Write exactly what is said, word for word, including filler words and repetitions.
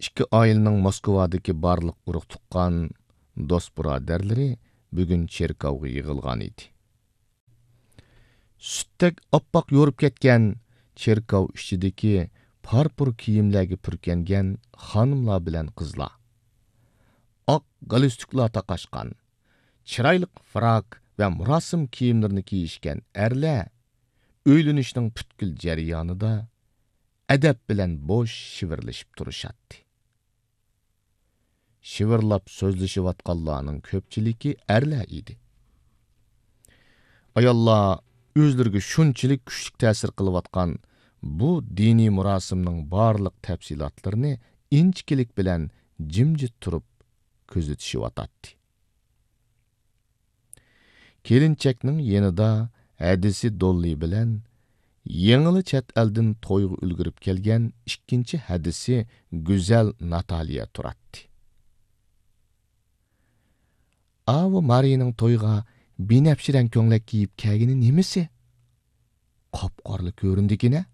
ئىككى ئائىلىنىڭ موسكۋادىكى بارلىق ئۇرۇق-تۇغقان، دوست-بۇرادەرلىرى بۈگۈن چېركاۋغا يىغىلغان ئىدى. سۈتتەك ئاپئاق يورۇپ كەتكەن چېركاۋ ئىچىدىكى پارپۇر كىيىملەرگە پۈركەنگەن خانىملار بىلەن قىزلار، ئاق گالستۇكلار تاقاشقان، چىرايلىق فراك ۋە مۇراسىم كىيىملىرىنى كىيىشكەن ئەرلەر ئۆيلىنىشنىڭ پۈتكۈل جەريانىدا ئەدەپ بىلەن بوش شىۋىرلىشىپ تۇرۇشاتتى. شىۋىرلاپ سۆزلىشىۋاتقانلارنىڭ كۆپچىلىكى ئەرلەر ئىدى. ئاياللار ئۆزلىرىگە شۇنچىلىك كۈچلۈك تەسىر قىلىۋاتقان بۇ دىنىي مۇراسىمنىڭ بارلىق تەپسىلاتلىرىنى ئىنچىكىلىك بىلەن جىمجىت تۇرۇپ كۆزىتىشىۋاتاتتى. كېلىنچەكنىڭ يېنىدا ھەدىسى دوللى بىلەن يېڭىلا چەت ئەلدىن تويغا ئۈلگۈرۈپ كەلگەن ئىككىنچى ھەدىسى گۈزەل ناتالىيە تۇراتتى. ئاۋۇ مارىنىڭ تويغا بىنەپشە رەڭ كۆڭلەك كىيىپ كەلگىنى نېمىسى؟ قاپقارىلا كۆرۈندىكىنە.